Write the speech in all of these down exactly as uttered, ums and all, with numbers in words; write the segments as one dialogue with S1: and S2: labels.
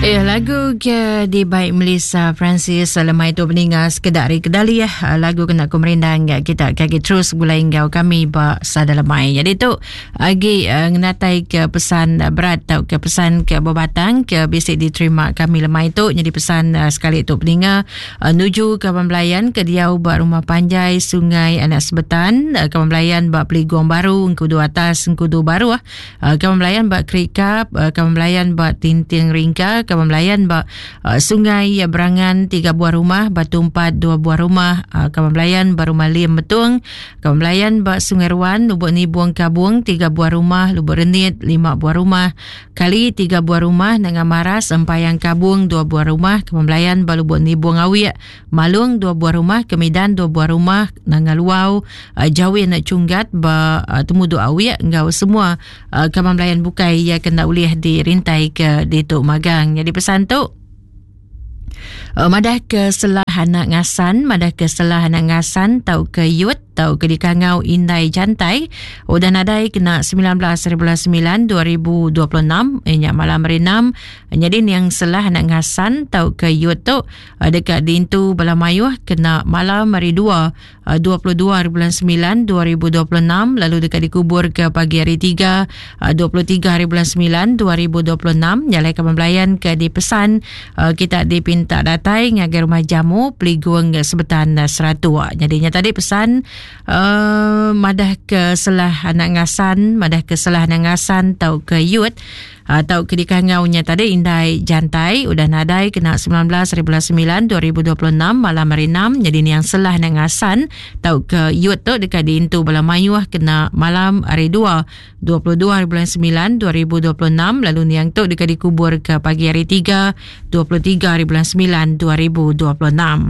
S1: Eh, lagu ke dibai Melissa Francis lemai tu peninga sekedar ari kedali ya. Lagu kena ku merindang kita kaki terus gulai enggau kami ba sada lemai. Jadi tu agi uh, ngenatai ke pesan berat atau ke pesan ke berbatang ke bisi diterima kami lemai tu. Jadi pesan uh, sekali tu peninga uh, nuju ke pembelayan ke diau ba rumah panjai Sungai Anak Sebetan, uh, ke pembelayan ba Peligong Baru, Engkudu Atas, Engkudu Baru, uh, ke pembelayan ba Kerikap, uh, ke pembelayan ba Tinting Ringka, ke pembelayan ba uh, Sungai Berangan tiga buah rumah, Batu Empat dua buah rumah, uh, ke pembelayan ba Rumah Lim Betung, ke pembelayan ba Sungai Ruan, Lubuk Nibung Kabung tiga buah rumah, Lubuk Renit lima buah rumah, Kali tiga buah rumah, Nanga Maras Empayang Kabung dua buah rumah, ke pembelayan ba Lubuk Nibung Awiek, Malung dua buah rumah, Kemidan dua buah rumah, Nanga Luau, uh, Jawin Cunggat ba uh, Temudu Awiek enggau semua uh, ke pembelayan bukai ia kena ulih dirintai ke ditu magang. Jadi pesan tu uh, madah ke selah anak ngasan, madah ke selah anak ngasan tau ke yut tau ke dikangau indai jantai udah nadai kena sembilan belas sembilan dua ribu dua puluh enam eh, nyak malam hari enam. Jadi yang selah anak ngasan tau ke yut tu uh, dekat dintu bala mayuh kena malam hari dua dua puluh dua hari bulan sembilan dua ribu dua puluh enam, lalu dekat dikubur ke pagi hari tiga dua puluh tiga hari bulan sembilan dua ribu dua puluh enam. Nyalai ke pembelayan ke dipesan kita dipinta datai ngagai rumah jamu Peligung Sebetan Seratua. Jadinya tadi pesan uh, madah ke selah anak ngasan, madah ke selah anak ngasan tau ke yut atau ke dikangaunya tadi indai jantai udah nadai kena sembilan belas hari bulan sembilan dua ribu dua puluh enam malam hari enam. Jadi ni yang selah anak ngasan tau ke yut tu dekat diintu bala mayuh kena malam hari dua dua puluh dua hari bulan sembilan dua ribu dua puluh enam, lalu niang tu dekat dikubur ke pagi hari tiga dua puluh tiga hari bulan sembilan dua ribu dua puluh enam.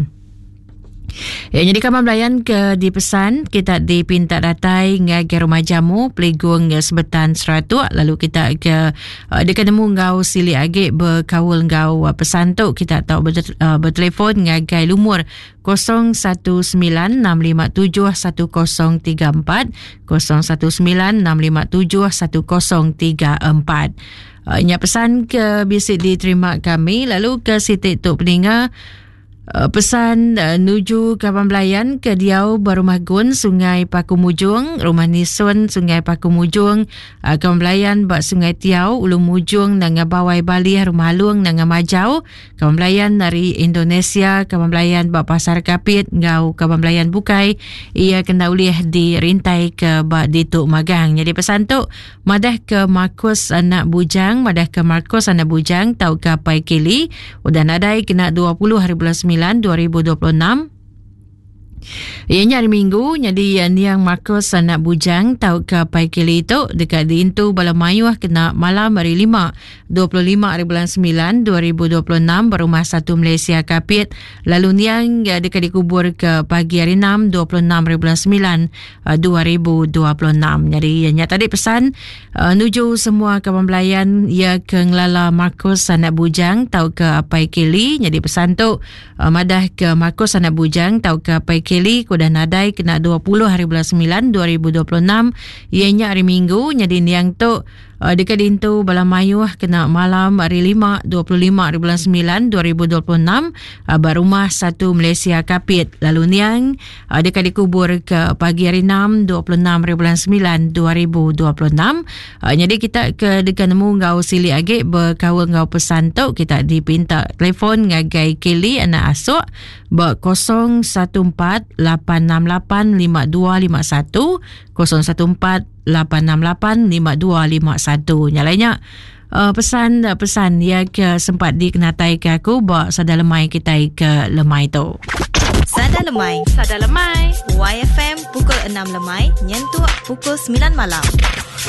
S1: Ya, jadi kawan belayan ke dipesan kita dipinta datai ngagai rumah jamu Peligung Sebetan Seratuk, lalu kita ke uh, dekat nemu ngau sili agi berkaul ngau uh, pesan tu kita tahu ber, uh, bertelefon ngagai lumur kosong satu sembilan enam lima tujuh satu kosong tiga empat kosong satu sembilan enam lima tujuh satu kosong tiga empat. Uh, nya pesan ke bisi diterima kami, lalu ke sitik tu peninga Uh, pesan uh, nuju kawan belayan ke diau berumah gun Sungai Paku Mujung, Rumah Nisun Sungai Paku Mujung, uh, kawan belayan bak Sungai Tiau, Ulu Mujung Nanga Bawai Bali, Rumah Alung Nanga Majau, kawan belayan dari Indonesia, kawan belayan bak Pasar Kapit ngau kawan belayan bukai ia kena ulih dirintai ke bak Dituk Magang. Jadi pesan tu madah ke Markus anak bujang, madah ke Markus anak bujang tau ke Pai Kili udah nadai kena dua puluh hari bulan sembilan dua ribu dua puluh enam. Ianya hari Minggu. Jadi niang Markus anak bujang tau ke Pai Kili tu dekat diintu bala mayuh kena malam hari lima dua puluh lima hari bulan sembilan dua ribu dua puluh enam berumah satu Malaysia Kapit, lalu niang dekat dikubur ke pagi hari enam dua puluh enam hari bulan sembilan dua ribu dua puluh enam. Jadi ianya tadi pesan uh, nuju semua kawan belayan ia ke ngelala Markus anak bujang tau ke Pai Kili. Jadi pesan tu uh, madah ke Markus anak bujang tau ke Pai Kili kuda nadai kena dua puluh hari bulan sembilan dua ribu dua puluh enam ianya hari Minggu. Jadi niang tu uh, dekat dintu bala mayuh kena malam hari lima dua puluh lima hari bulan sembilan dua ribu dua puluh enam uh, berumah satu Malaysia Kapit, lalu niang uh, dekat dikubur ke pagi hari enam dua puluh enam hari bulan sembilan dua ribu dua puluh enam. Uh, jadi kita ke dekat nemu ngau sili agi berkaul ngau pesan tu kita dipinta telefon ngagai Kili anak asuk ber kosong satu empat lapan enam lapan lima dua lima satu kosong satu empat lapan enam lapan lima dua lima satu. Nyalainya uh, pesan-pesan ya ke sempat dikenatai ke aku bak sada lemai kita ke lemai tu.
S2: Sada lemai.
S3: Sada lemai.
S2: Y F M pukul enam lemai nyentuk pukul sembilan malam.